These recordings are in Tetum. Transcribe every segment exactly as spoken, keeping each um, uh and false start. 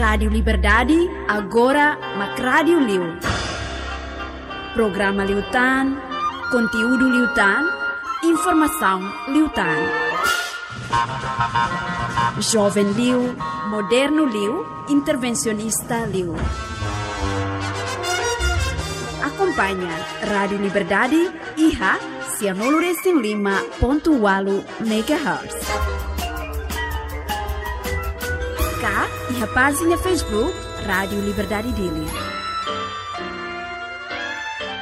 Rádiu Liberdade, agora mak rádiu liu. Programa liután, konteúdu liután, informasaun liután. Joven liu, modernu liu, intervensionista liu. Akompaña Rádiu Liberdade iha sianulu resin lima pontu ualu megahertz. Ka iha pájina Facebook Rádiu Liberdade Dili.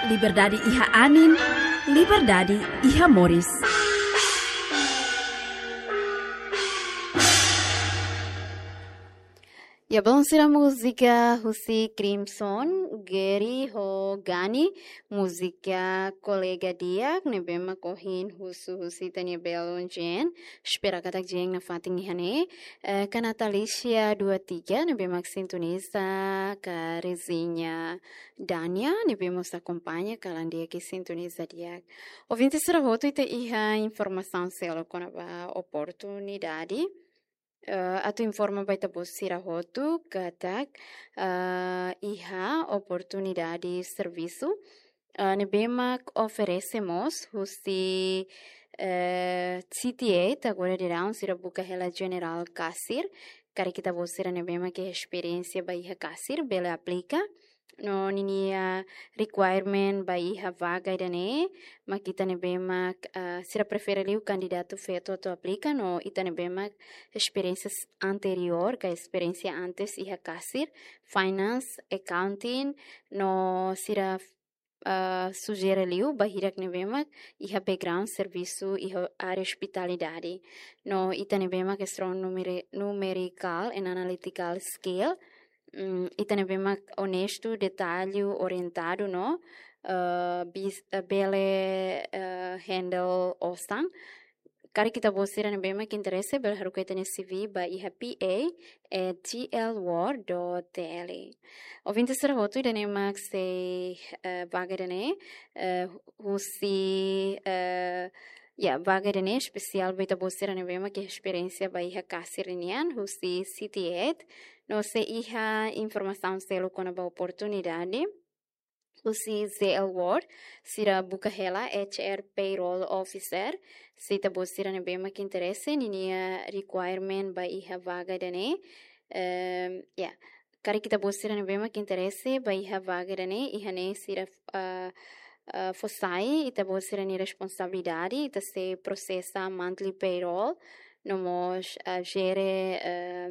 Liberdade iha anin, liberdade iha moris. Ya, balun sira, múzika husi Crimson, Gary ho Gani, múzika Kolega Di'ak, ne'ebé mak ohin husu husi ita-nia belun Jen, espera katak Jen nafatin iha ne'e, eh, Kanata Alicia dua tiga, ne'ebé mak sintoniza ka Reziña Dania, ne'ebé mós akompaña kalan di'ak i sintoniza di'ak. Ouvinte sira hotu, ita iha informasaun seluk kona-ba oportunidade. Eh, atu informa ba ita-boot sira hotu katak, eh, iha oportunidade servisu, eh, ne'ebé mak oferese mós husi, eh, C T A, agora daudaun sira buka hela General Kasir, karik ita-boot sira ne'ebé mak iha esperiénsia ba iha kasir, bele aplika. No ninia requirement ba iha vaga ida-ne'e, mak ita ne'ebé mak, ah, sira prefere liu kandidatu feto atu aplika, no ita ne'ebé mak esperiénsia s-, anteriór, ka esperiénsia antes iha kasir, finance, accounting, no sira, ah, sujere liu ba hirak ne'ebé mak iha background servisu iha área ospitalidade. No ita ne'ebé mak strong numeri-, numerical and analytical skill, mm, ita ne'ebé mak onestu, detallu orientadu no, eh, bis-, eh, bele, eh, handle osan. Karik ita-boot sira ne'ebé mak interese, bele haruka ita-nia C V ba iha P A at G L world dot T L. Ouvinte sira hotu, ida-ne'e mak sei, eh, vaga ida-ne'e, eh, husi, eh, ya, vaga ida-ne'e espesiál ba ita-boot sira ne'ebé mak iha esperiénsia ba iha kasir nian, husi C T A, no se iha informasaun seluk kona-ba oportunidade, husi J L World, sira buka hela H R Payroll Officer, se ita-boot sira ne'ebé mak interese, ninia requirement ba iha vaga ida-ne'e, ehm, ya, karik ita-boot sira ne'ebé mak interese ba iha vaga ida-ne'e, iha ne'e sira, ah, ah, fó sai ita-boot sira-nia responsabilidade, ita sei prosesa monthly payroll, no mós, ah, jere, eh,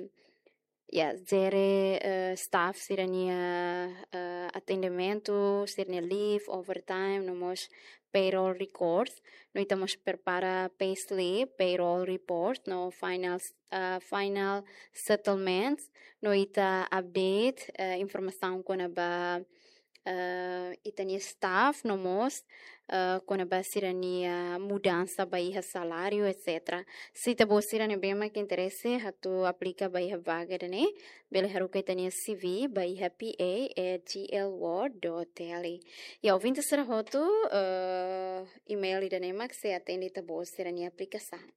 ya, jere, eh, staff sira-nia, eh, atendimentu, sira-nia leave, overtime, no mós payroll records. No ita mós prepara payslip, payroll report, no final, eh, final settlements. No ita update, eh, informasaun kona-ba, eh, ita-nia staff, no mós, eh, kona-ba sira-nia mudansa ba iha saláriu, et cetera. Se ita-boot sira ne'ebé mak interese atu aplika ba iha vaga ida-ne'e, bele haruka ita-nia C V ba iha P A at G L world dot T L. Ya, ouvinte sira hotu, eh, email ida-ne'e mak sei atende ita-boot sira-nia aplikasaun.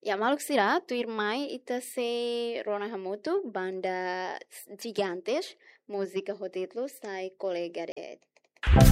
Ya, maluk sira, tuirmai ita sei rona hamutuk banda Gigantes, múzika ho títulu Sai Kolega De'it.